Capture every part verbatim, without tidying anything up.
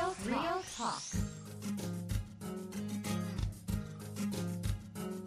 Real Talk.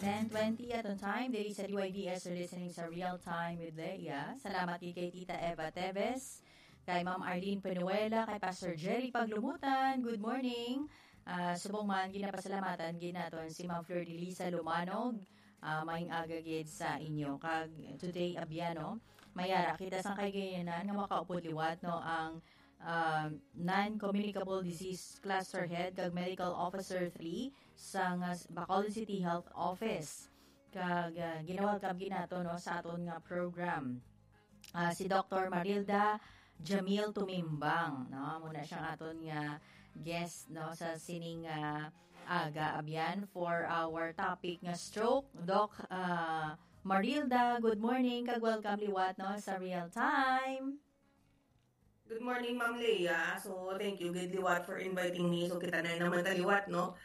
Ten twenty aton time, diri sa D Y D S, you're listening sa Real Time with Leia. Salamat gid kay Tita Eva Teves, kay Ma'am Arlene Penuela, kay Pastor Jerry Paglumutan. Good morning. Ah, subong man, ginapasalamatan gid naton si Ma'am Flor de Lisa Lumanog. Ah, maayong aga gid sa inyo. Kag today, abyan, no? May ara kita sang kaigayonan nga makaupod liwat, no, ang, ah, non-communicable disease cluster head kag medical officer three sang, ah, Bacolod City Health Office. Kag, ah, gina-welcome gid nato, no, sa aton nga program. Ah, si Doctor Marilda Jamil Tumimbang, no? Amo na siya ang aton nga guest, no, sa sining, ah, aga, abyan, for our topic nga stroke. Doc, ah, Marilda, good morning, kag welcome liwat, no, sa Real Time. Good morning, Ma'am Leia. So, thank you gid liwat for inviting me. So, kita na naman ta liwat, no?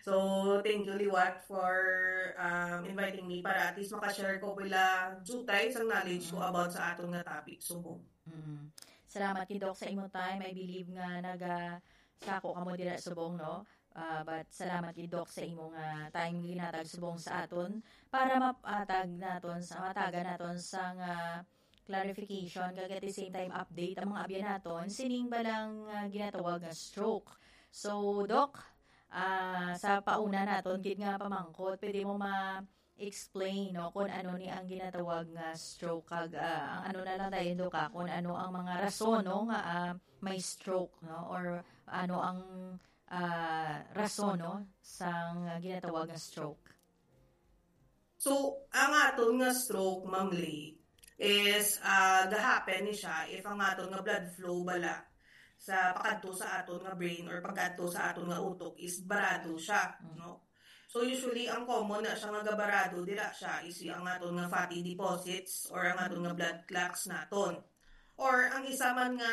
So, thank you liwat for, um, inviting me para at least makashare ko pila jutay sang knowledge ko Mm. about sa aton nga topic. So, Mm. Salamat gid, Doc, sa imo time. I believe nga naga-, sako kamo dira subong, no? Ah, but salamat gid, Doc, sa imo nga time nga ginatag subong sa aton para mapatag naton sa, matagan naton sa nga clarification, kag at the same time update ang mga abyan naton sining balang, ah, ginatawag nga stroke. So, Doc, ah, sa pauna naton gid nga pamangkot, pwede mo ma-explain, no, kung ano ni ang ginatawag nga stroke, kag, ah, ang ano na lang tayo, Doc, ah, kung ano ang mga rason, no, nga, ah, may stroke, no, or ano ang, ah, rason, no, sang ginatawag nga stroke? So, ang aton nga stroke, Ma'am Lay, is, ah, gahappen ni siya if ang aton nga blood flow bala sa pakadto sa aton nga brain or pagkadto sa aton nga utok is barado siya, Mm. no? So, usually, ang common na siya nga gabarado, dira siya is ang aton nga fatty deposits or ang aton nga blood clots naton. Or ang isa man nga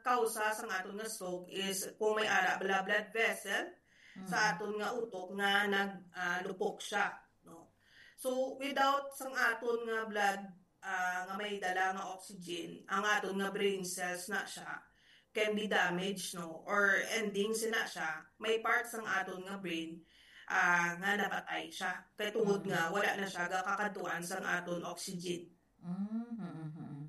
kausa sang aton nga stroke is kung may ara bala blood vessel sa Mm. aton nga utok nga nag, ah, lupok siya, no? So, without sang aton nga blood, ah, nga may dala nga oxygen, ang aton nga brain cells na siya can be damaged, no? Or ending sina siya, may part sang aton nga brain, ah, nga napatay siya. Kay tungod Mm. nga wala na siya gakakadtuan sang aton oxygen. Mm, mm, mm.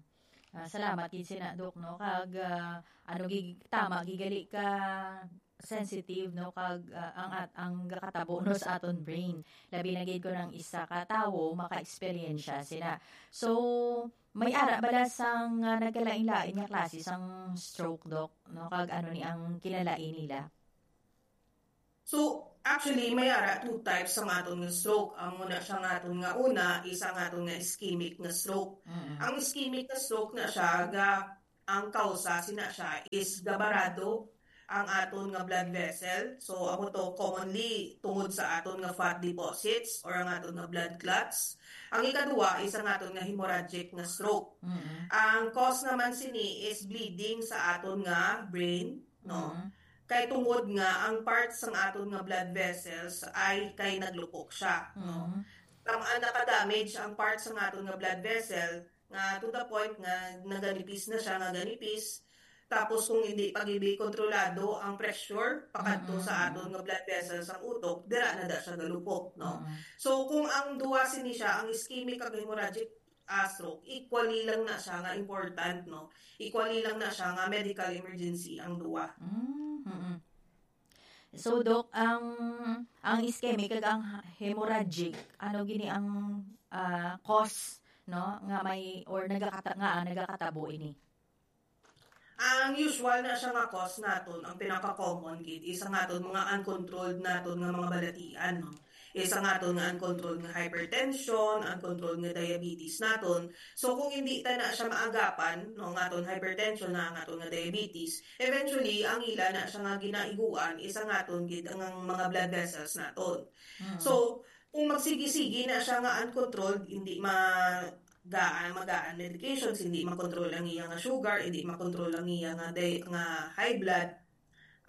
Ah, salamat gid sina, Doc, no? Kag, ah, ano, gig-, tama, gigali ka sensitive, no? Kag, ah, ang at-, ang gakatabo, no, sa aton brain. Labi na gid kung ang isa ka tawo maka-eksperyensya sina. So, may ara bala sang, ah, nagkalain-lain nga klase sang stroke, Doc, no? Kag ano ni ang kinalain nila? So, actually, may ara two types ang aton nga stroke. Ang muna siya nga aton nga una, isa nga aton nga ischemic nga stroke. Mm. Ang ischemic nga stroke na siya, ga, ang kausa sina siya is gabarado ang aton nga blood vessel. So, amo to commonly tungod sa aton nga fat deposits or ang aton nga blood clots. Ang ikaduha is ang aton nga hemorrhagic nga stroke. Mm. Ang cause naman sini is bleeding sa aton nga brain, no? Mm. Kay tungod nga ang parts sang aton nga blood vessels ay kay naglupok siya, no? Mm. Tam-, ang naka-damage ang parts sang aton nga blood vessel nga to the point nga naganipis na siya, nga ganipis. Tapos kung hindi pa gid kontrolado ang pressure pakadto sa Mm. aton nga blood vessels ang utok, dira na da siya galupok, no? Mm. So kung ang duha sini siya, ang ischemic kag hemorrhagic, ah, stroke, equally lang na siya nga important, no? Equally lang na siya nga medical emergency ang duha. Mm, mm. So, Doc, ang, ang ischemic kag ang hemorrhagic, ano gini ang, ah, cause, no, nga may, or nagakata-, nga, ah, nagakatabo ini? Ang usual na siya nga cause naton, ang pinaka-common gid, is ang aton mga uncontrolled naton nga mga balatian, no? Is ang aton nga uncontrolled nga hypertension, uncontrolled nga diabetes naton. So, kung hindi ta na siya maagapan, no, ang aton hypertension na ang aton nga diabetes, eventually, ang ila na siya nga ginaiguan is ang aton gid ang mga blood vessels naton. Mm. So, kung magsigi-sigi na siya nga uncontrolled, hindi ma-, gaan, magaan medications, hindi makontrol ang iya nga sugar, hindi makontrol ang iya nga di-, nga high blood,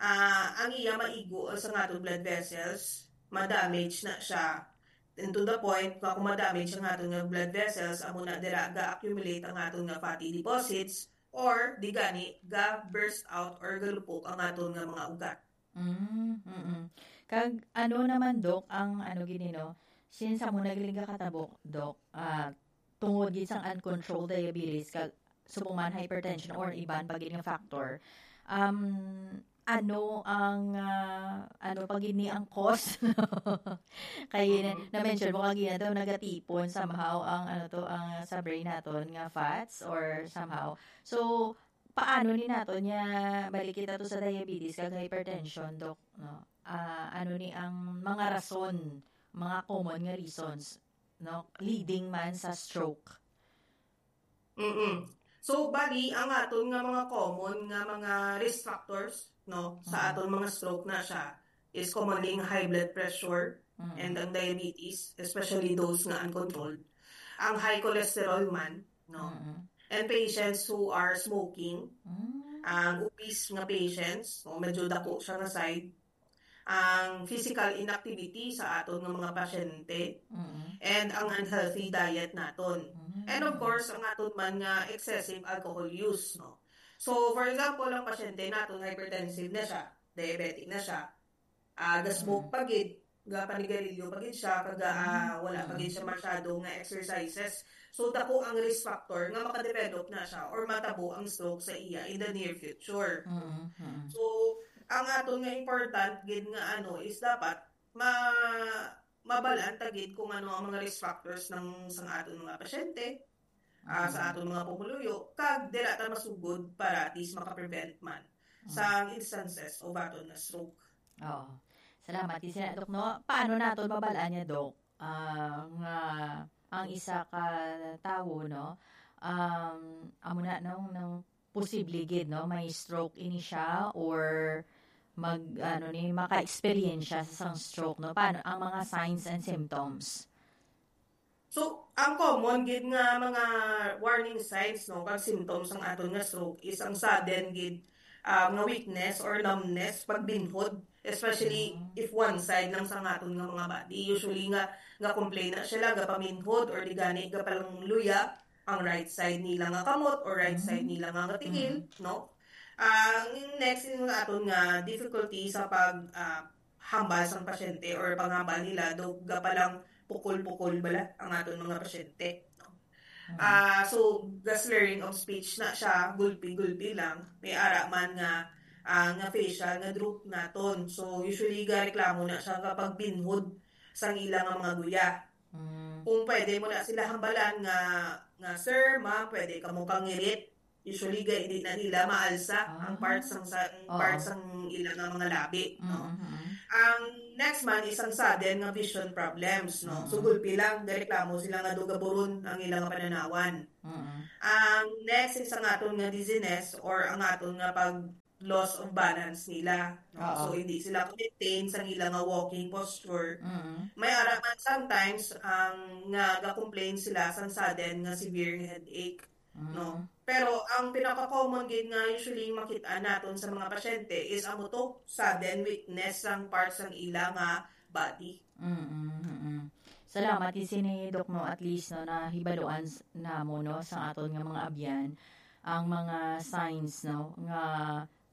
ah, ang iya maigo sa nga aton blood vessels, ma-damage na siya. And to the point, nga kung ma-damage ang aton nga blood vessels, amo na dira ga-accumulate ang aton nga fatty deposits, or di gani ga burst out or galupok ang aton nga mga ugat. Mm, mm. Kag ano naman, Doc, ang ano gini, no? Since amo na galing ka katabok, Doc, ah, tungod gid sang uncontrolled diabetes, kag subong man hypertension or iban pa gid nga factor, um, ano ang, ah, ano pa gid ni ang cause? Kay na, Mm. na-mention mo kagina daw nagatipon somehow ang, ano to, ang sa brain naton nga fats or somehow. So, paano ni naton niya balik kita to sa diabetes kag hypertension, Doc, no? Ah, ano ni ang mga rason, mga common nga reasons, no, leading man sa stroke? Mm-mm. So, bali, ang aton nga mga common nga mga risk factors, no, sa Mm. aton mga stroke na siya is commonly ang high blood pressure Mm. and ang diabetes, especially those nga uncontrolled. Ang high cholesterol man, no? Mm. And patients who are smoking, Mm. ang obese nga patients, no, medyo dako siya nga side, ang physical inactivity sa aton nga mga pasyente, Mm. and ang unhealthy diet naton. Mm. And of course, ang aton man nga excessive alcohol use, no? So, for example, ang pasyente naton hypertensive na siya, diabetic na siya, ah, ga-smoke Mm. pa gid, ga panigarilyo pa gid siya, kag, ah, Mm. wala pa gid siya masyado nga exercises. So, dako ang risk factor nga makadevelop na siya or matabo ang stroke sa iya in the near future. Mm, mm. So, ang aton nga important gid nga ano is dapat ma-, mabalaan ta gid kung ano ang mga risk factors ng, sang aton mga pasyente, ah, sa Mm. aton mga pumuluyo, kag dira ta masugod para at least maka-prevent man Mm. sa instances of aton nga stroke. Oo. Salamat. Di sina, Doc, no? Paano naton mabalaan niya, Doc? Ah, nga ang isa ka tawo, no? Um, amo na, no, nang posible gid, no? May stroke ini siya or mag, ano ni, maka-experience siya sa isang stroke, no? Paano ang mga signs and symptoms? So, ang common gid nga mga warning signs, no, kag symptoms sang aton nga stroke is ang sudden gid, ah, nga weakness or numbness, pagbinhod, especially Mm. if one side lang sang aton nga mga body. Usually nga, nga complain na sila, gapaminhod or di gani, gapalangluya ang right side nila nga kamot or right side Mm. nila nga, nga tingil, Mm. no? Ang next is nga aton nga difficulty sa pag, ah, hambal sang pasyente or panghambal nila, do gapalang pukol-pukol bala ang aton mga pasyente, no? Mm. Ah, so, ga slurring of speech na siya, gulpi-gulpi lang. May ara man nga, ah, nga facial nga droop naton. So, usually, gareklamo na siya kapag binhod sang ila nga mga guya. Mm. Kung pwede mo na sila hambalan nga, nga, "Sir, ma'am, pwede kamo kangirit." Usually, ga-, di na nila maalsa ang Ah. part sang, sa, ang part Oo. sang ila nga mga labi, no? Mm, mm. Ang next man is ang sudden nga vision problems, no? So, Mm. gulpi lang, gareklamo sila nga do gaburon ang ila nga pananawan. Mm. Ang next is ang aton nga dizziness or ang aton nga pag loss of balance nila, no? Oo. So, hindi sila ka-maintain sa ila nga walking posture. Mm. May ara man sometimes ang nga ga-complain sila sa sudden nga severe headache, Mm. no? Pero ang pinaka-common gid nga usually makit-an naton sa mga pasyente is amo to, sudden weakness sang parts sang ila nga body. Mm, mm, mm. Salamat gid sini, Doc, no, at least, no, nahibaluan s-, namo, no, sa aton nga mga abyan ang mga signs, no, nga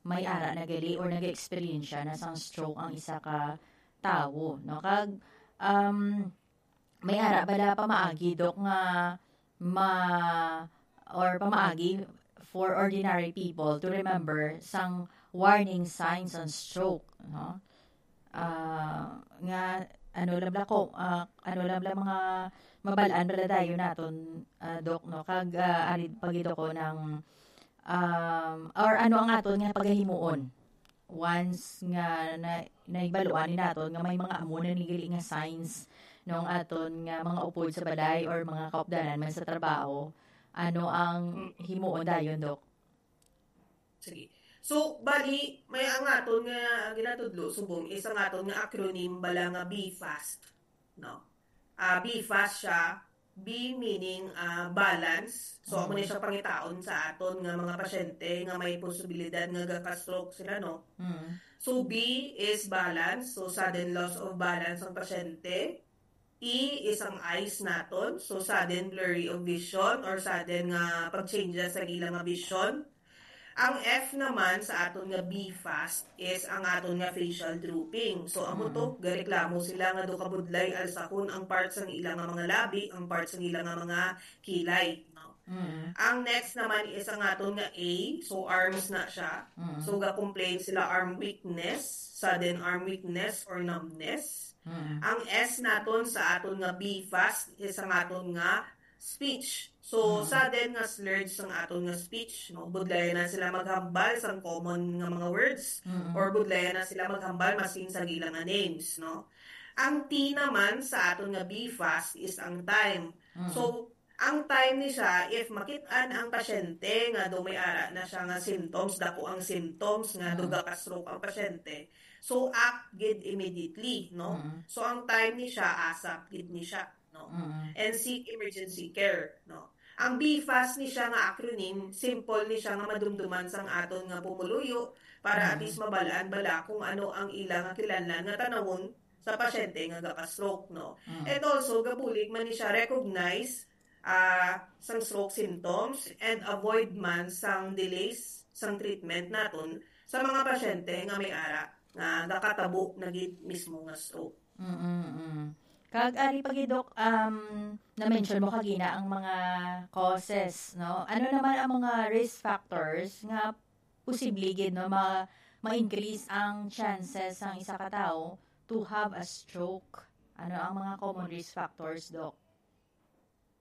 may ara na gali or nag-experience na sang stroke ang isa ka tawo, no? Kag, um, may ara bala pamaagi, Doc, nga ma-, or pamaagi for ordinary people to remember sang warning signs on stroke, no? Ah, nga, ano lang bala ko, ah, ano lang bala mga mabalaan bala dayon naton, ah, Doc, no? Kag, ah, ari pa gid ako ng, um, or ano ang aton nga pagahimuon once nga na, nahibaluan ni naton nga may mga amo na ni gali nga signs nung aton nga mga upod sa balay or mga kaupdanan man sa trabaho, ano ang Mm. himuon dayon, Doc? Sige. So, bali, may ang aton nga ginatudlo subong is ang aton nga acronym bala nga B FAST, no? Ah, B FAST siya, B meaning, ah, balance. So, amo ni Mm. siya pangitaon sa aton nga mga pasyente nga may posibilidad nga gaka-stroke sila, no? Mm. So, B is balance. So, sudden loss of balance ang pasyente. E is ang eyes naton. So, sudden blurry of vision or sudden nga pag-changes sa ila nga vision. Ang F naman sa aton nga B fast is ang aton nga facial drooping. So, amo to, gareklamo sila nga daw kabudlay alsahon ang part sang ila nga mga labi, ang part sang ila nga mga kilay, no? Mm. Ang next naman is ang aton nga A, so arms na siya. Mm. So, ga-complain sila arm weakness, sudden arm weakness or numbness. Mm. Ang S naton sa aton nga B fast is ang aton nga speech. So, Mm. sudden nga slurred sang aton nga speech, no? Budlayan na sila maghambal sang common nga mga words, Mm. or budlayan na sila maghambal maskin sa ila nga names, no? Ang T naman sa aton nga B fast is ang time. Mm. So, ang time ni siya, if makit-an ang pasyente nga daw may ara na siya nga symptoms, dako ang symptoms nga Mm. daw gaka-stroke ang pasyente, so act gid immediately, no? Mm. So, ang time ni siya, ASAP gid ni siya, no? Mm. And seek emergency care, no? Ang B fast ni siya nga acronym, simple ni siya nga madumduman sang aton nga pumuluyo para at Mm. least mabalaan bala kung ano ang ila nga kinahanglan nga tanawon sa pasyente nga gaka-stroke, no? Mm. And also, gabulig man ni siya recognize, ah, sang stroke symptoms and avoid man sang delays sang treatment naton sa mga pasyente nga may ara nga gakatabo na gid mismo nga stroke. Mm-mm. Kag ari pa gid, Doc, um, na-mention mo kagina ang mga causes, no? Ano naman ang mga risk factors nga posible gid, no, ma-, ma-increase ang chances sang isa ka tawo to have a stroke? Ano ang mga common risk factors, Doc?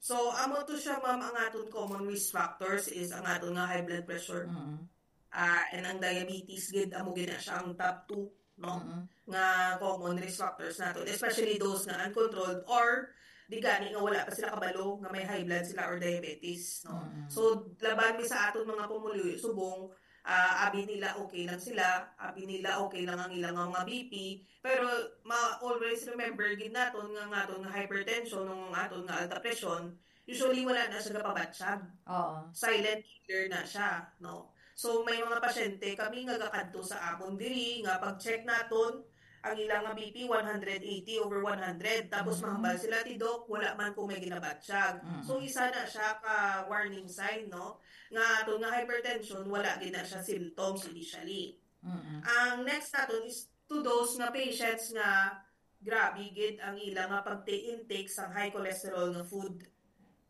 So, amo to siya, ma'am, ang aton common risk factors is ang aton nga high blood pressure. Mm. Ah, and ang diabetes gid, amo gid na siya ang top two, no? Mm. Nga common risk factors naton, especially those nga uncontrolled or di gani nga wala pa sila kabalo nga may high blood sila or diabetes, no? Mm. So, laban mi sa aton mga pumuluyo subong, ah, abi nila okay lang sila, abi nila okay lang ang ilang mga B P, pero ma-, always remember gid naton nga ang aton nga hypertension, ang aton nga alta presyon, usually wala na siya gapabatsyag. Oo. Silent killer na siya, no? So, may mga pasyente kami nga gakadto sa amon diri nga pag-check naton, ang ilang nga B P one hundred eighty over one hundred, tapos Mm. mahambal sila ti Doc, wala man ko may ginabatsyag. Mm. So, isa na siya ka warning sign, no? Nga aton nga hypertension, wala gid na siya symptoms initially. Mm. Ang next naton is to those nga patients nga grabe gid ang ila nga pag-intake sang high cholesterol nga food.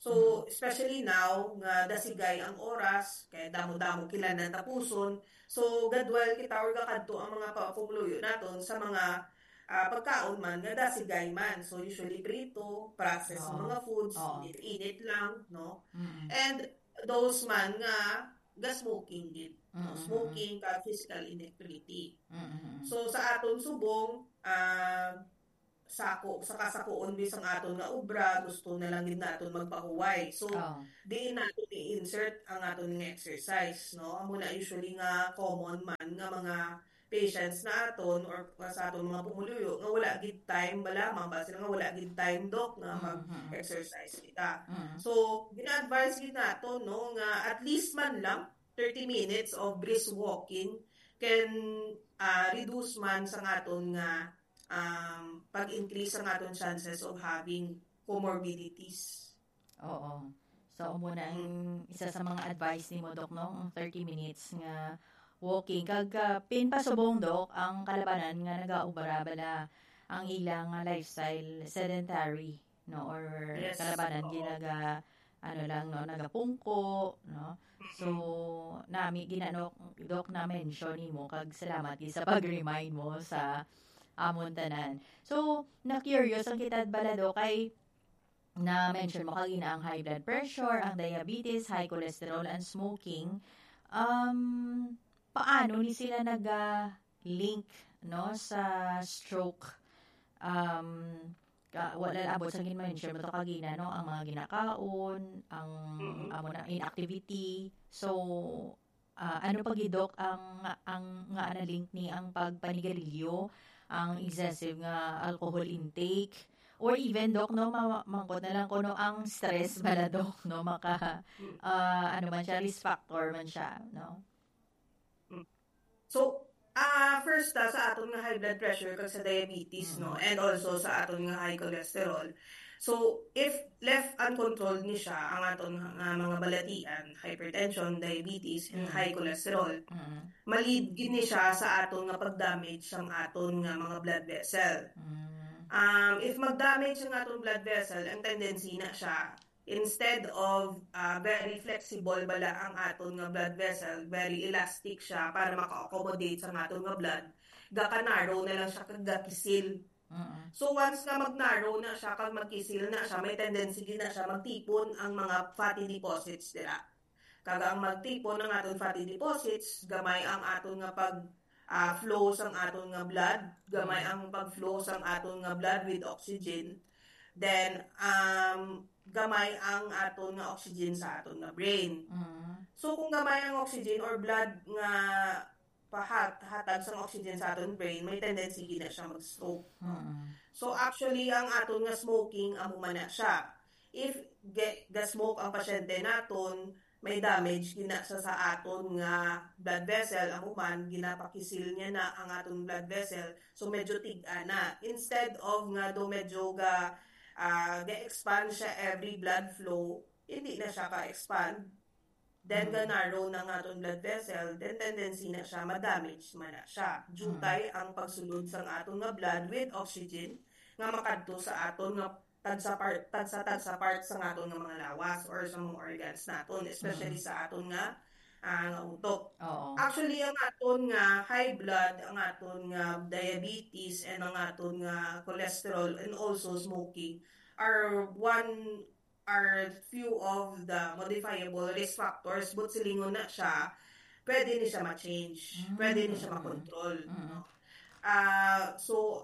So, Mm. especially now nga dasigay ang oras, kay damo-damo kita nga tapuson. So, gadwal kita or gakadto ang mga pa-, pumuluyo naton sa mga, ah, pagkaon man nga dasigay man. So, usually prito, processed Oo. mga foods, Oo. init-init lang, no? Mm. And those man nga ga-smoking gid, no? Mm, mm, mm. Smoking kag physical inactivity. Mm, mm, mm. So, sa aton subong, ah, sako, sa kasakuon bisang aton nga obra, gusto na lang gid naton magpahuway. So, Oo. diin naton i-insert ang aton nga exercise, no? Amo na usually nga common man nga mga patients naton or sa aton mga pumuluyo nga wala gid time, bala, mambal sila nga wala gid time, Doc, nga Mhm. mag-exercise kita. Mhm. So, gina-advise gid naton, no, nga at least man lang thirty minutes of brisk walking can, ah, reduce man sa aton nga, um, pag-increase sa aton chances of having comorbidities. Oo. So, amo na ang Mm. isa sa mga advice nimo, Doc, no? Ang thirty minutes nga walking. Kag, ah, pin pasubong, Doc, ang kalabanan nga nagaobra bala ang ilang, ah, lifestyle, sedentary, no? Or Yes. kalabanan Oo. ginaga-, ano lang, no? Nagapungko, no? So, Mm-mm. nami gina-, no, Doc, na-mention nimo, kag salamat gid sa pag-remind mo sa amon tanan. So, na-curious ang kita bala, Doc, kay na-mention mo kagina ang high blood pressure, ang diabetes, high cholesterol, and smoking. Um, paano ni sila naga-link, no, sa stroke? Um, ka-, wala abot sa gin-mention mo to kagina, no, ang mga ginakaon, ang Mm-hmm. amo na inactivity. So, ah, ano pa gid, Doc, ang, ang nga na-link ni ang pagpanigarilyo, ang excessive nga alcohol intake, or even, Doc, no, ma-, mangkot na lang ko, no, ang stress bala, Doc, no, maka, Mm. ah, ano man siya, risk factor man siya, no? Mm. So, ah, first first ta sa aton nga high blood pressure kag sa diabetes, no? Mm. And also sa aton nga high cholesterol. So, if left uncontrolled ni siya, ang aton nga, nga mga balatian, hypertension, diabetes, and Mm. high cholesterol, Mm. ma-lead gid ni siya sa aton nga pag-damage sang aton nga mga blood vessel. Mm. Um, if mag-damage ang aton blood vessel, ang tendency na siya, instead of, ah, very flexible bala ang aton nga blood vessel, very elastic siya para maka-accommodate sa aton nga blood, gaka-narrow na lang siya kag gakisil. Mm. So, once nga mag-narrow na siya kag magkisil na siya, may tendency gid na siya magtipon ang mga fatty deposits dira. Kag ang magtipon ang aton fatty deposits, gamay ang aton nga pag, ah, flow sang aton nga blood, gamay Mm. ang pag-flow sang aton nga blood with oxygen. Then, um, gamay ang aton nga oxygen sa aton nga brain. Mm. So, kung gamay ang oxygen or blood nga pahat-, hatag sang oxygen sa aton brain, may tendency gid na siya mag-stroke, no? Mm. So, actually, ang aton nga smoking, amo man na siya. If ga-, ga-smoke ang pasyente naton, may damage gid na sa, sa aton nga blood vessel, amo man, ginapakisil niya na ang aton blood vessel. So, medyo tig-a na. Instead of nga do medyo ga, ah, ga-expand siya every blood flow, hindi na siya ka-expand. Then, Mm. ga-narrow na nga aton blood vessel, then tendency na siya, ma-damage man na siya. Jutay Mm. ang pagsulod sang aton nga blood with oxygen nga makadto sa aton nga tagsa part, tagsa-tagsa part sa aton nga mga lawas or sa mga organs naton, especially Mm. sa aton nga, ah, nga utok. Oo. Actually, ang aton nga high blood, ang aton nga diabetes, and ang aton nga cholesterol, and also smoking are one, are few of the modifiable risk factors, but silingon na siya, pwede ni siya ma-change, pwede ni siya Mm. makontrol, Mm. no? Ah, so,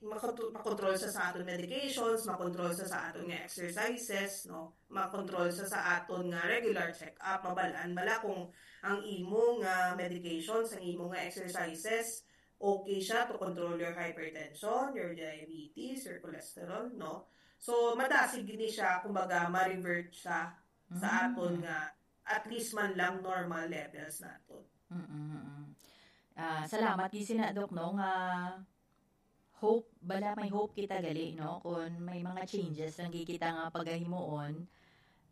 makontrol, makontrol sa, sa aton medications, makontrol sa, sa aton nga exercises, no? Makontrol sa, sa aton nga regular check-up, mabalaan bala kung ang imo nga medications, ang imo nga exercises, okay siya to control your hypertension, your diabetes, your cholesterol, no? So, madasig gid ni siya, kumbaga, ma-revert siya sa Mm. aton nga, at least man lang, normal levels naton. Mm, mm, mm. Ah, salamat gid sina, Doc, no, nga hope, bala may hope kita gali, no, kung may mga changes lang gid kita nga pagahimuon.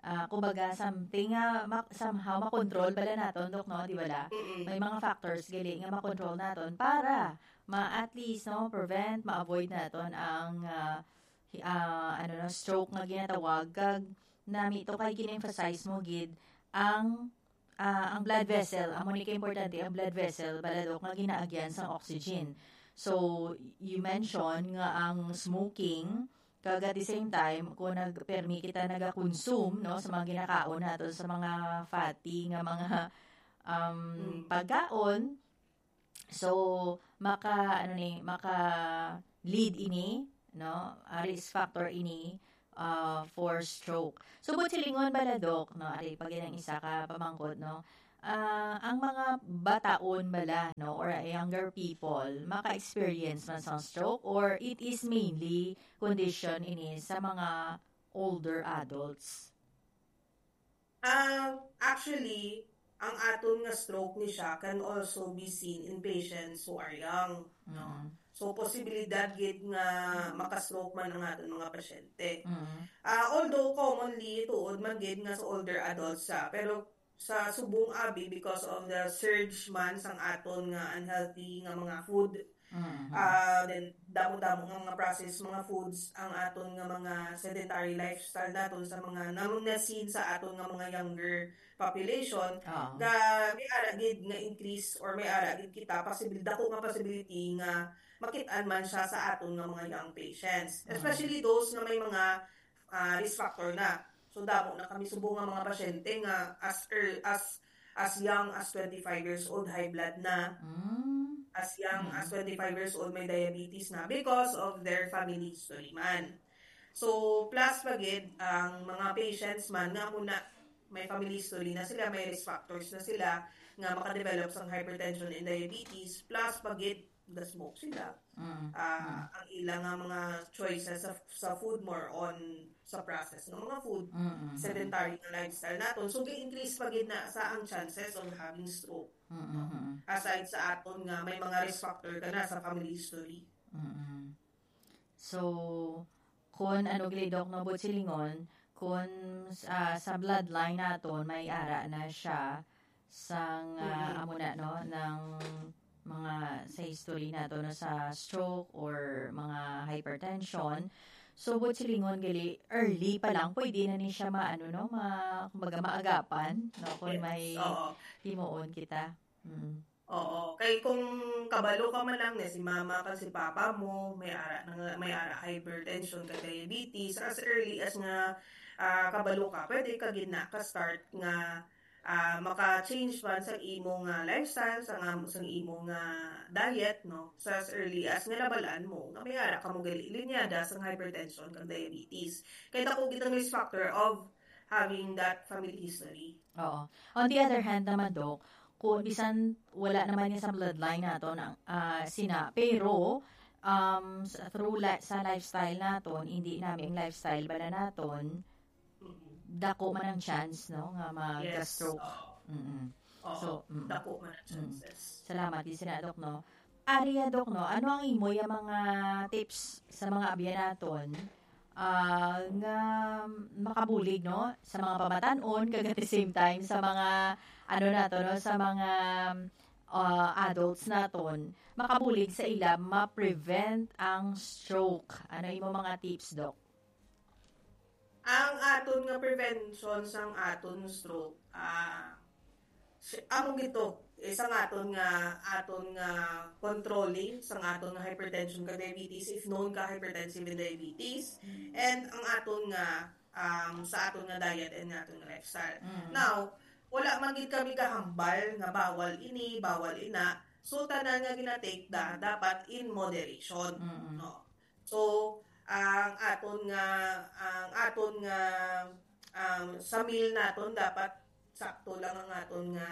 Ah, kumbaga, something nga ma-, somehow makontrol bala naton, Doc, no, di bala? Mm-mm. May mga factors gali nga makontrol naton para ma-, at least, no, prevent, ma-avoid naton ang, ah, hi-, ah, ano, no, stroke nga ginatawag. Kag nami to kay gin-emphasize mo gid ang, ah, ang blood vessel. Amo ni ka importante ang blood vessel, bala, Doc, nga ginaagyan sang oxygen. So, you mentioned nga ang smoking, kag at the same time, kung nag-, permi kita nagakonsume, no, sa mga ginakaon nato, sa mga fatty nga mga, um, Mm. pagkaon, so, maka, ano ni, maka-lead ini, no, a risk factor ini, uh, for stroke. So, but silingon bala, Doc, no, ari pa gid ang isa ka pamangkot, no, ah, ang mga bataon bala, no, or younger people, maka-experience man sa stroke, or it is mainly condition ini sa mga older adults? Ah, actually, ang aton nga stroke ni siya can also be seen in patients who are young, no? Mm. So, posibilidad gid nga maka-stroke man ang aton mga pasyente. Mm. Ah, although commonly, tuod man gid nga sa older adults siya, pero sa subong abi, because of the surge man sang aton nga unhealthy nga mga food, Mm-hmm. Ah, then, damo-damo nga mga processed mga foods ang aton nga mga sedentary lifestyle naton sa mga namang na-seen sa aton nga mga younger population, Oo. nga may ara gid nga increase or may ara gid kita possibility, dako nga possibility nga makit-an man siya sa aton nga mga young patients. Mm. Especially those nga may mga, ah, risk factor na. So, damo na kami subong nga mga pasyente nga as ear-, as as young as twenty-five years old, high blood na. Mm. As young as Mm. twenty-five years old, may diabetes na because of their family history man. So, plus pa gid ang mga patients man nga muna may family history na sila, may risk factors na sila nga makadevelop sang hypertension and diabetes, plus pa gid ga-smoke sila. Mm, Ah, mm. ang ila nga mga choices sa, sa food, more on sa process ng mga food, Mm, mm, mm. sedentary nga lifestyle naton. So, gi-increase pa gid na sa ang chances of having stroke. Mm-mm. Aside sa aton nga may mga risk factor ka na sa family history. Mm-mm. So, kun ano gali, Doc, no, buot silingon, kun, ah, sa bloodline naton, may ara na siya sang, ah, Mm-mm. amo na, no, ng mga sa history nato, no, sa stroke or mga hypertension. So, buot silingon gali, early pa lang, pwede na ni siya maano, no, ma-, kumbaga, maagapan, no, kung Yes, may oo. himuon kita. Mm. Oo. Kay kung kabalo ka man lang na si mama kag si papa mo, may ara na nga, may ara hypertension kag diabetes, as early as nga, ah, kabalo ka, pwede ka gid na ka-start nga, ah, maka-change man sa imo nga lifestyle, sa nga, sa imo nga diet, no? Sa as early as nga nabalaan mo nga may ara ka mo gali linyada sa hypertension kag diabetes. Kay dako gid ang risk factor of having that family history. Oo. On the other hand naman, Doc, kung bisan wala naman niya sa bloodline naton ang, ah, sina, pero, um, sa, through li-, sa lifestyle naton, hindi namin lifestyle bala naton, Mm. dako man ang chance, no, nga Yes. mag-stroke. Oo. Mm-mm. Oo. So, mm. Dako man ang Mm. chances. Salamat, di sina, Doc, no? Ari ya, Doc, no? Ano ang imo ya mga tips sa mga abyan naton, ah, nga makabulig, no, sa mga pamatan-on, kag at the same time sa mga, ano nato, no, sa mga, ah, adults naton, makabulig sa ila ma-prevent ang stroke? Ano imo mga tips, Doc? Ang aton nga prevention sang aton stroke, ah, si-, amo gid to, eh, sang aton nga, aton nga controlling sang aton nga hypertension kag diabetes, if known ka hypertensive and diabetes, Mm. and ang aton nga, um, sa aton nga diet and nga aton nga lifestyle. Mm. Now, wala man gid kami kahambal nga bawal ini, bawal ina. So, tanan nga gina-take da, dapat in moderation, Mm. no? So, ang aton nga, ang aton nga, um, sa meal naton, dapat sakto lang ang aton nga,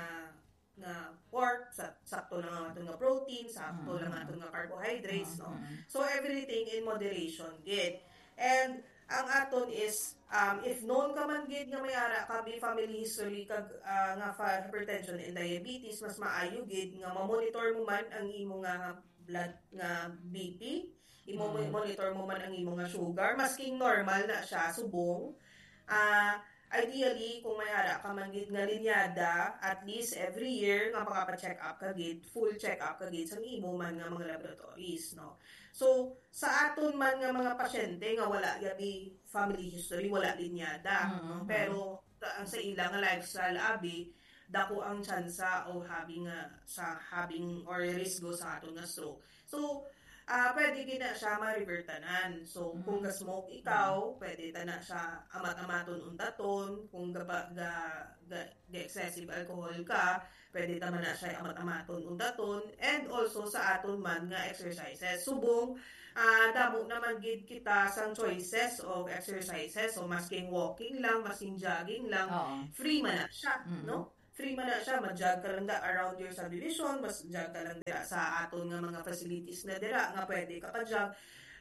nga pork, sa-, sakto lang ang aton nga protein, sakto lang ang Mm. aton nga carbohydrates, Mm, no? mm. So, everything in moderation gid. And ang aton is, um, if known ka man gid nga may ara ka, may family history kag, ah, nga fa-, hypertension and diabetes, mas maayo gid nga ma-monitor mo man ang imo nga blood nga B P, imo mo, Mm. monitor mo man ang imo nga sugar, masking normal na siya, subong. Ah, ideally, kung may ara ka man gid nga linyada, at least every year nga makapa-check up ka gid, full check up ka gid sa imo man nga mga laboratories, no? So, sa aton man nga mga pasyente nga wala yabi family history, wala linyada, Mm, no? mm. Pero ta-, ang sa ila nga lifestyle, abi, dako ang tsansa o having, ah, sa having or risgo sa aton nga stroke. So, ah, pwede gid na siya ma-revert tanan. So, kung Mm. ga-smoke ikaw, Mm. pwede ta na siya amat-amaton untaton. Kung ga-, ga-, ga-, ga-excessive alcohol ka, pwede ta man na siya amat-amaton untaton. And also sa aton man nga exercises. Subong, ah, damo naman gid kita sang choices of exercises. So, masking walking lang, masking jogging lang, Oo. free man na siya, Mm. no? Free man na siya, mag-jog ka lang da around your subdivision, mas jog ka lang dira sa aton nga mga facilities na dira nga pwede ka pa-jog.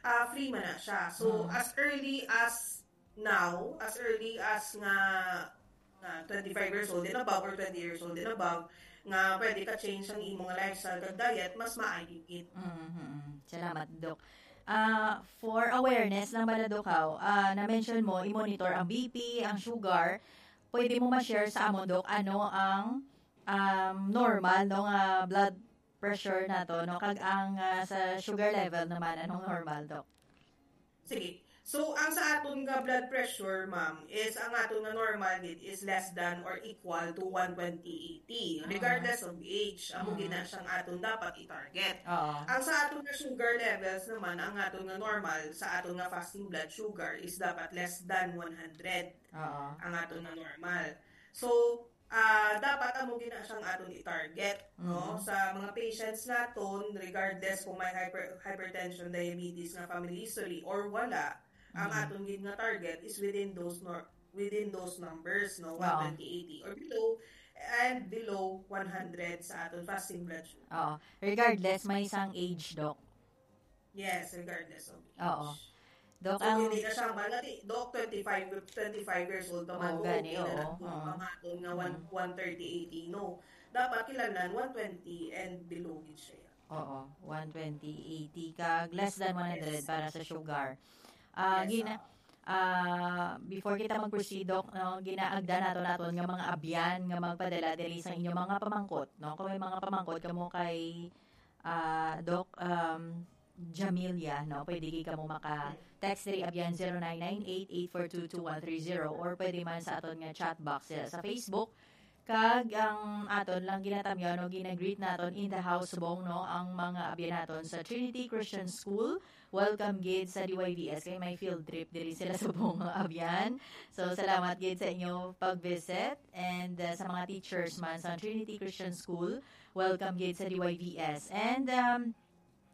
Ah, free man na siya. So, Mm. as early as now, as early as nga, nga twenty-five years old and above or twenty years old and above, nga pwede ka change ang imong lifestyle kag diet, mas maayo gid. Mhm. Salamat, Doc. Ah, for awareness lang bala, Doc, haw, ah, na-mention mo, i-monitor ang B P, ang sugar. Pwede mo ma-share sa amon, Doc, ano ang, um, normal, no, nga blood pressure nato, no? Kag ang, ah, sa sugar level naman, anong normal, Doc? Sige. So, ang sa aton nga blood pressure, ma'am, is ang aton nga normal gid is less than or equal to one twenty eighty, Ah. regardless of age. Amo Mm. gid na siyang aton dapat i-target. Oo. Ang sa aton nga sugar levels naman, ang aton nga normal sa aton nga fasting blood sugar is dapat less than one hundred Oo. ang aton nga normal. So, ah, dapat amo gid na siyang aton i-target, no? Mm. Sa mga patients naton, regardless kung may hyper-, hypertension, diabetes nga family history or wala, ang Mm. aton gid nga target is within those nor-, within those numbers, no? Oo. One twenty eighty or below, and below one hundred sa aton fasting blood sugar. Oo. Regardless, may isang age, Doc. Yes, regardless of age. Oo. Doc, So, ang hindi na siya, malati, Doc, twenty-five, twenty-five years old pa man, Oo, gani, okay na oo, lang kung oo. pangaton nga one, Mm. one thirty eighty, no? dapat kinahanglan one twenty and below gid siya. Oo, one twenty, eighty, kag less than one hundred Yes. para sa sugar. Ah, Yes, gina-, ah. ah, before kita mag-proceed, Doc, no, ginaagda nato naton nga mga abyan nga magpadala diri sa inyong mga pamangkot, no? Kung may mga pamangkot kamo kay, ah, Doc, um, Jamilia, no? Pwede gid kamo maka-text diri abyan zero nine nine eight eight four two two one three zero, or pwede man sa aton nga chat box, eh, sa Facebook. Kag ang aton lang ginatamyaw, no, ginagreet naton in the house subong, no, ang mga abyan naton sa Trinity Christian School. Welcome gid sa D Y V S kay may field trip diri sila subong nga abyan. So, salamat gid sa inyo pag-visit, and, uh, sa mga teachers man sa Trinity Christian School, welcome gid sa D Y V S. And, um,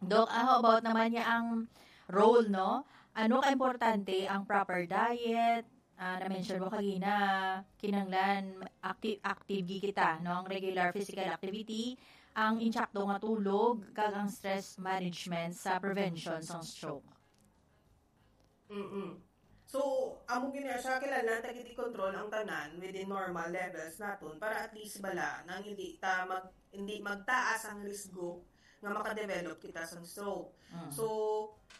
Doc, ah, how about naman niya ang role, no? Ano ka importante ang proper diet? Ah, na-mention mo kagina, kinahanglan active, active gid kita, no? Ang regular physical activity, ang insakto nga tulog, kag ang stress management sa prevention sang stroke. Mm-mm. So, amo gid na siya, kinahanglan ta gid i-control ang tanan within normal levels naton para at least bala nang hindi ta mag-, hindi magtaas ang risgo nga makadevelop kita sang stroke. Mm. So,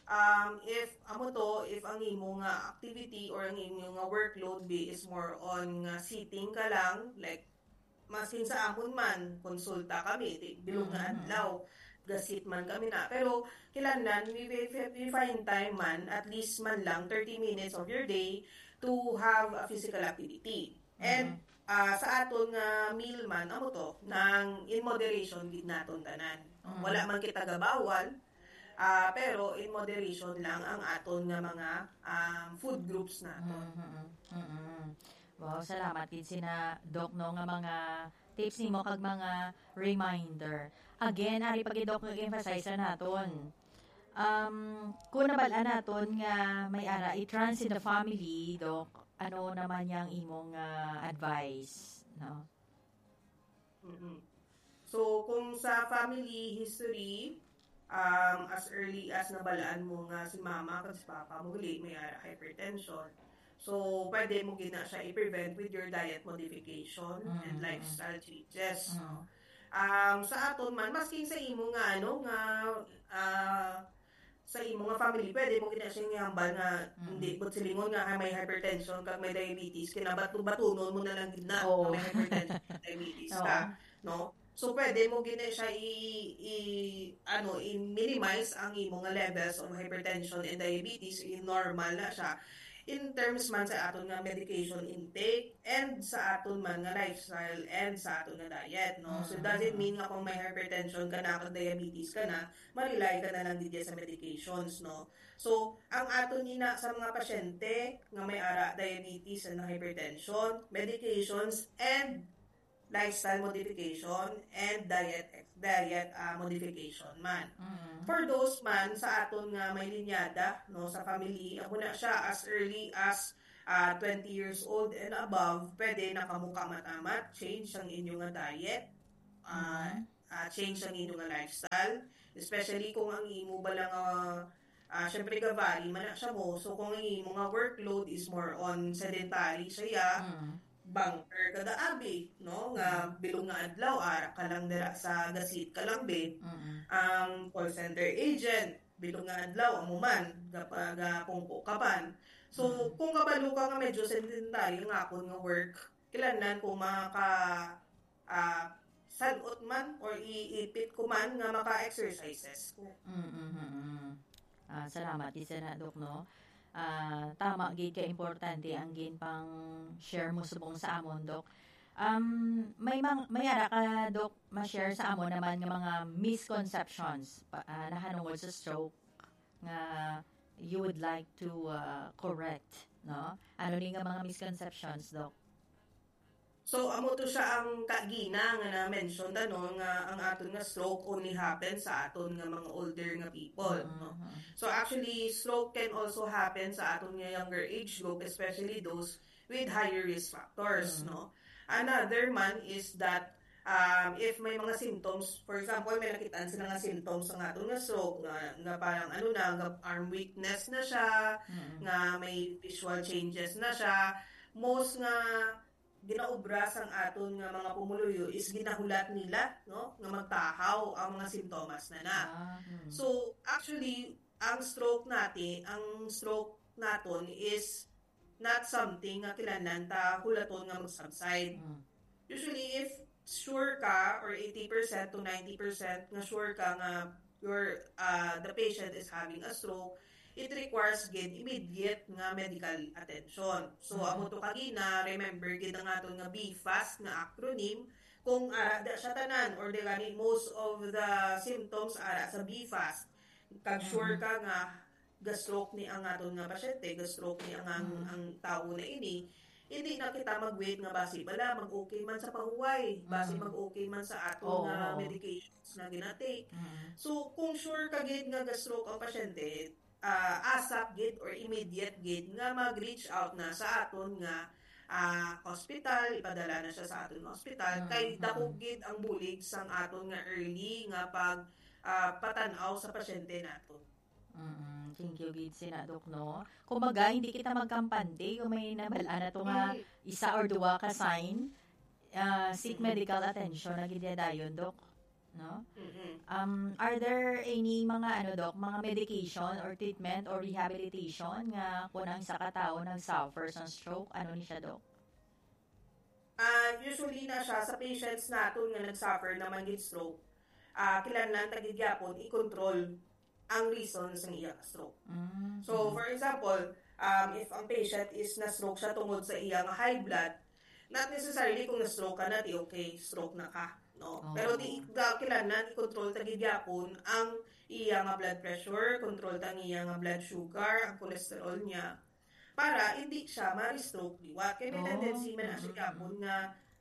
um, if amo to, if ang imo nga activity or ang imo nga workload be is more on nga sitting ka lang, like, maskin sa amon man, konsulta kami, di, bilog nga Mm. adlaw, gasit man kami na. Pero, kinahanglan, we, we, we find time man, at least man lang, thirty minutes of your day to have a physical activity. And, Mm. ah, sa aton nga meal man, amo to, nang in moderation gid naton tanan. Mm. Wala man kita gabawal, ah, pero in moderation lang ang aton nga mga, um, food groups naton. Mm-mm. Mm-mm. Wow, salamat gid sina Doc, no, nga mga tips nimo kag mga reminder. Again, ari pa gid, Doc, nag-emphasize na naton. Um, kung nabal-an naton nga may ara i-trans in the family, Doc, ano naman yang imong, ah, advice, no? Mm-mm. So, kung sa family history, um, as early as nabalaan mo nga si mama kag si papa mo gali may ara hypertension, so pwede mo gid na siya i-prevent with your diet modification and Mm. lifestyle changes, Mm. no? Um, sa aton man, masking sa imo nga, ano, nga, ah, sa imo nga family, pwede mo gid na siya ihambal nga Mm. hindi, but silingon nga, ah, may hypertension kag may diabetes, kinabato-batunon mo na lang gid na Oo. nga may hypertension, diabetes Oo. ka, no? So, pwede mo gid na siya i-, i-, ano, i-minimize ang imo nga levels of hypertension and diabetes, i-normal na siya in terms man sa aton nga medication intake and sa aton man nga lifestyle and sa aton nga diet, no? So, it doesn't Mm. mean nga kung may hypertension ka na, kag diabetes ka na, ma-rely ka na lang gid sa medications, no? So, ang aton ina sa mga pasyente nga may ara diabetes and hypertension, medications and lifestyle modification and diet, diet, ah, modification man. Mm. For those man sa aton nga may linyada, no, sa family, amo na siya as early as, ah, twenty years old and above, pwede na kamo kamatamat change ang inyo nga diet, ah, Mm. ah, change ang inyo nga lifestyle, especially kung ang imo bala nga, ah, syempre, ga-vary man na siya mo. So, kung ang imo nga workload is more on sedentary siya, Mm. banker ka da abi, no? Nga Mm. bilog nga adlaw, ara ka lang dira sa gasit ka lang, be. Mm. Ang call center agent, bilog nga adlaw, amo man, gapa-, gapungko ka pan. So, Mm. kung kabalo ka nga medyo sedentary ang akon nga work, kinahanglan kung maka-, ah, salot man or iipit ko man nga maka-exercises ko. Mm, mm, mm. Ah, salamat gid sa na, Doc, no? Ah, tama gid ka importante ang ginpang-share mo subong sa amon, Doc. Um, may mang-, may ara ka, Doc, ma-share sa amon naman nga mga misconceptions pa, ah, nahanungod sa stroke nga you would like to, ah, correct, no? Ano ni nga mga misconceptions, Doc? So, amo to siya ang kagina nga na-mention ta, no, nga ang aton nga stroke only happen sa aton nga mga older nga people, no? Mhm. So, actually, stroke can also happen sa aton nga younger age group, especially those with higher risk factors, Mm. no? Another man is that, um, if may mga symptoms, for example, may nakit-an sila nga symptoms sa aton nga stroke, nga, nga parang ano na, nga arm weakness na siya, Mm. nga may visual changes na siya, most nga ginaobra sang aton nga mga pumuluyo is ginahulat nila, no, nga magtahaw ang mga simptomas na na. Ah, mm. So, actually, ang stroke natin, ang stroke naton is not something nga kinahanglan ta hulaton nga mag-subside. Mm. Usually, if sure ka or eighty percent to ninety percent nga sure ka nga your uh, the patient is having a stroke, it requires gid immediate nga medical attention. So, Mhm. amo to kagina, remember gid ang aton nga B fast nga acronym, kung ara da siya tanan or di gani most of the symptoms ara sa B fast. Kag sure Mhm. ka nga ga-stroke ni ang aton nga pasyente, ga-stroke ni ang, ang, Mhm. ang tawo na ini, hindi na kita mag-wait nga basi bala mag-okay man sa pahuway, basi Mhm. mag-okay man sa aton Oo, nga oo. medications nga gina-take. Mhm. So, kung sure ka gid nga ga-stroke ang pasyente, ah, ASAP gid or immediate gid nga mag-reach out na sa aton nga ah, hospital, ipadala na siya sa aton nga hospital. Mm, Kay dako mm. gid ang bulig sang aton nga early nga pag ah, patan-aw sa pasyente nato. Mm, thank you gid sina, Dok, no? Kumbaga, hindi kita magkampante kung may nabal-an nato nga Mm. isa or duwa ka sign, ah, seek Mm. medical attention na gid dayon, Dok, no? Mm-mm. Um, are there any mga, ano, Dok, mga medication or treatment or rehabilitation nga kung ang isa ka tawo nag-suffer sa stroke, ano ni siya, Dok? Ah, usually na siya sa patients naton nga nag-suffer naman gid stroke. Ah, kinahanglan ta gid gyapon i-control ang reason sa iya stroke. Mm. So, for example, um, if ang patient is na-stroke siya tungod sa iya nga high blood, not necessarily kung na-stroke ka na, di okay, stroke na ka. No? Oo. Pero di, da, kinahanglan i-control ta gid gyapon ang iya nga blood pressure, control ta ang iya nga blood sugar, ang cholesterol niya, para hindi siya ma-stroke liwat. Kaya may Oh, tendency man na siya mm-mm. gyapon nga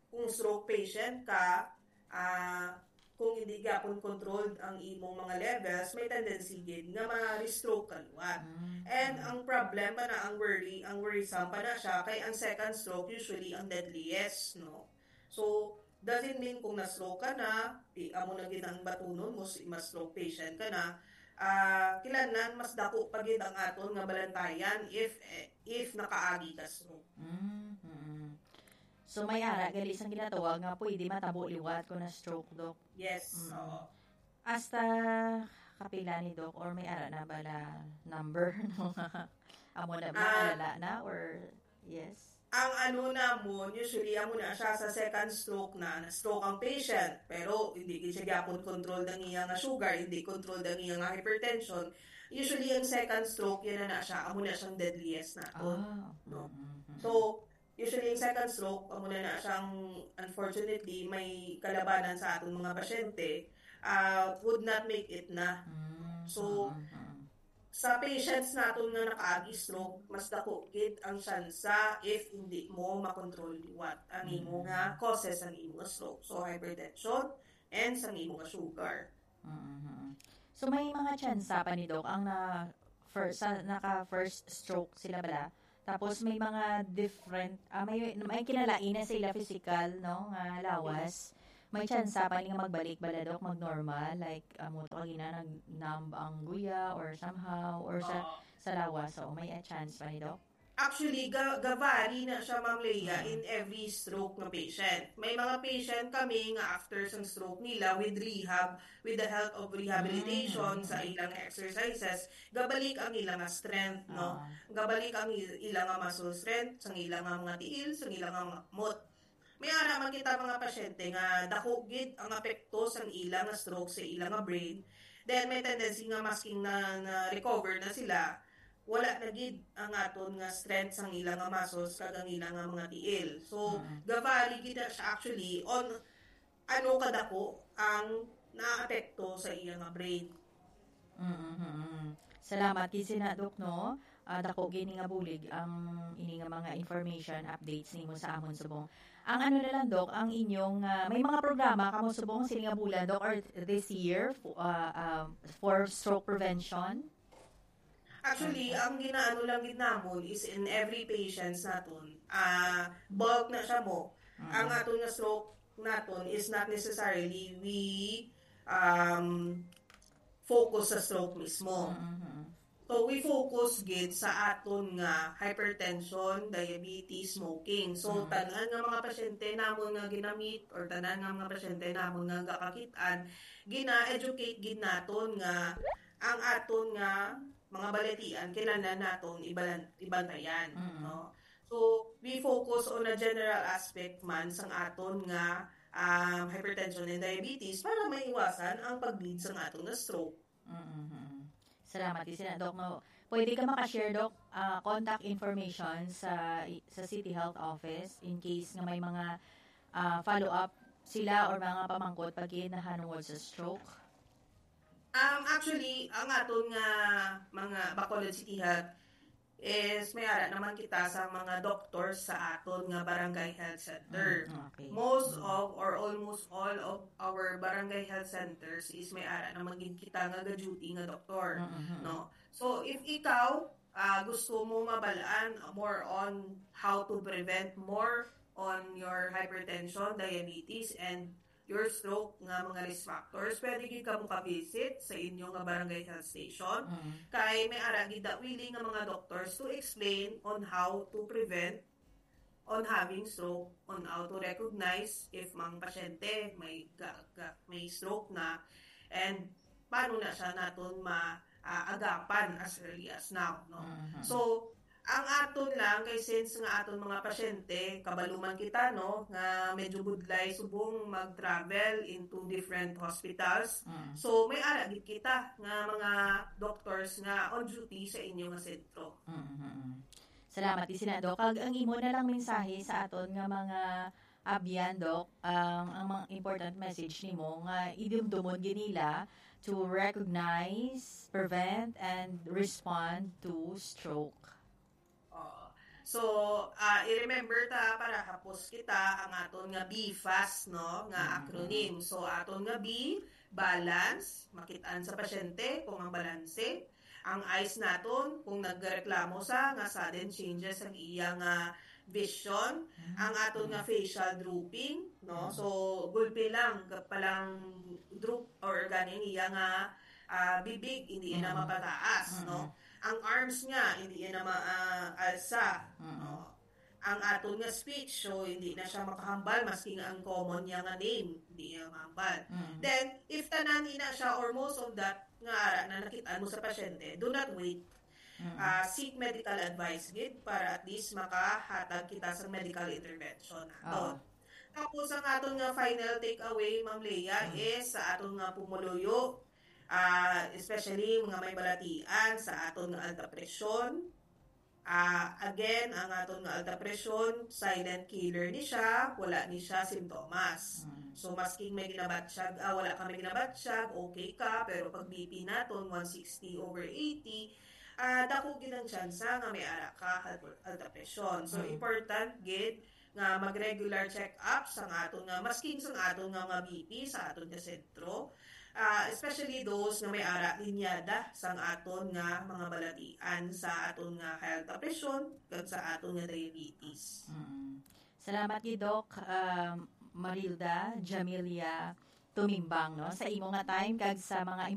kung stroke patient ka, ah, kung hindi gyapon controlled ang imong mga levels, may tendency gid nga ma-stroke ka liwat. Mm. And ang problem pa na, ang worry, ang worrisome pa na siya, kay ang second stroke usually ang deadliest, no? So, doesn't mean kung na-stroke ka na, di, amo na gid ang batunon mo, si, ma-stroke patient ka na, ah, kinahanglan mas dako pa gid ang aton nga balantayan if, eh, if nakaagi ka stroke. Mm, mm. So, may ara gali sang ginatawag nga pwede matabo liwat kung na-stroke, Dok. Yes, Mm. oo. Hasta kapila ni, Dok, or may ara na bala number, no? Amo na ba, Ah. Alala na, or yes? Ang ano namon, usually, amo na siya sa second stroke na, na-stroke ang patient, pero hindi gid siya gyapon controlled ang iya nga sugar, hindi controlled ang iya nga hypertension. Usually, ang second stroke, yan na, na siya, amo na siyang deadliest naton. Ah, No? mm, mm, mm. So, usually, yung second stroke, amo na, na siyang, unfortunately, may kalabanan sa aton mga pasyente, ah, would not make it na. Mm, So, mm, mm. Sa patients naton nga nakaagi stroke, mas dako gid ang tsansa if hindi mo makontrol liwat ang imo Mm. nga causes ang imo nga stroke. So, hypertension and sa imo nga sugar. Mm-hmm. So, may mga tsansa pa ni, Doc, ang na first, sa, naka first stroke sila bala. Tapos may mga different, ah, may, may kinalain na sa ila physical, no, nga lawas. May tsansa pa ni nga magbalik bala, Doc, mag-normal, like, amo to kagina, nag-numb ang guya or somehow, or sa, Oo. sa lawas. So, may, ah, chance pa ni, Doc? Actually, ga gavary na siya, Ma'am Leah, Mm. in every stroke nga patient. May mga patient kami nga after sang stroke nila, with rehab, with the help of rehabilitation, Mm. sa ilang exercises, gabalik ang ilang strength, no? Ah. Gabalik ang il- ilang muscle strength, sa ilang mga tiil, sa ilang mga kamot. May ara man kita mga pasyente nga dako gid ang apekto sang ilang stroke sa ilang brain. Then may tendency nga masking na, na recover na sila, wala na gid ang aton nga strength sang ilang nga muscles kag ang ilang nga mga tiil. So, Mm. gavary gid na siya actually on ano kadako ang naapekto sa iya nga brain. Mm-hmm. Salamat gid sina, Doc, no? Ah, dako gini nga bulig ang ini nga mga information updates nimo sa amon subong. Ang ano na lang, Doc, ang inyong, ah, may mga programa kamo subong sini nga bulan, Doc, or this year fo- ah, ah, for stroke prevention? Actually, ang ginaano lang gid namon is in every patients naton, ah, bulk na siya mo. Ang Mm. aton nga stroke naton is not necessarily we um, focus sa stroke mismo. Mm-hmm. So, we focus gid sa aton nga hypertension, diabetes, smoking. So, Mhm. tanan nga mga pasyente namon nga ginamit or tanan nga mga pasyente namon nga gakakit-an, gina-educate gid naton nga ang aton nga mga balatian kinahanglan naton ibalan, ibantayan, Mhm. no? So, we focus on a general aspect man sang aton nga um, hypertension and diabetes para maiwasan ang pag-lead sang aton nga stroke. Mm-hmm. Salamat, Isina. Doc, no? Pwede ka makashare, Doc, ah, contact information sa sa City Health Office in case nga may mga ah, follow-up sila or mga pamangkot pag nahanungod sa stroke? Um, actually, ang aton nga mga Bacolod City Health is may ara naman kita sa mga doctors sa aton nga barangay health center. Mm, okay. Most of or almost all of our barangay health centers is may ara naman gid kita nga ga-duty nga doktor, Mm-hmm. no? So if ikaw ah, gusto mo mabalaan more on how to prevent more on your hypertension, diabetes, and your stroke nga mga risk factors, pwede gid ka mo ka-visit sa inyo nga barangay health station. Mm. Kay may ara gid da willing nga mga doctors to explain on how to prevent, on having stroke, on how to recognize if mang pasyente may ga, ga, may stroke na, and paano na siya naton ma ah, agapan as early as now, no? Mhm. So, ang aton lang kay since nga aton mga pasyente, kabalo man kita, no, nga medyo budlay subong mag-travel into different hospitals. Mm. So, may ara gid kita nga mga doctors nga on duty sa inyo nga sentro. Mm-hmm. Salamat, Isina, Doc. Kag ang imo na lang mensahe sa aton nga mga abyan, Doc, ang, ang mga important message nimo nga idumdumon gid nila to recognize, prevent, and respond to stroke. Oo. So, ah, i-remember ta para hapos kita ang aton nga B fast, no, nga Mhm. acronym. So, aton nga B, balance, makit-an sa pasyente kung ang balanse. Ang eyes naton, kung nagreklamo sa nga sudden changes ang iya nga vision, ang aton nga facial drooping, no? Mhm. So, gulpi lang, palang droop or ganing iya nga ah, bibig, hindi na Mhm. mapataas, Mhm. no? Ang arms niya, hindi na maalsa, Mhm. no? Ang aton nga speech, so hindi na siya makahambal, maski nga ang common niya nga name, hindi niya mahambal. Mhm. Then, if tanan ina siya or most of that nga ara na nakit-an mo sa pasyente, do not wait. Mhm. Ah, seek medical advice gid para at least makahatag kita sa medical intervention Oo. aton. Tapos ang aton nga final takeaway, Ma'am Lea, Mm. is sa aton nga pumuluyo, ah, especially mga may balatian sa aton nga alta presyon. Ah, again, ang aton nga alta presyon, silent killer ni siya, wala ni siya sintomas. Mm. So, masking may ginabatsyag, ah, wala ka may ginabatsyag, okay ka, pero pag B P naton, one sixty over eighty, ah, dako gid ang tsansa nga may ara ka alta presyon. So, Mm. important gid nga mag-regular check-up sang aton nga, masking sang aton nga mga B P sa aton nga sentro, ah, especially those nga may ara linyada sang aton nga mga balatian sa aton nga high alta presyon kag sa aton nga diabetes. Mm. Salamat gid, Doc, um, Marilda Jamilia Tumimbang, no, sa imo nga time kag sa mga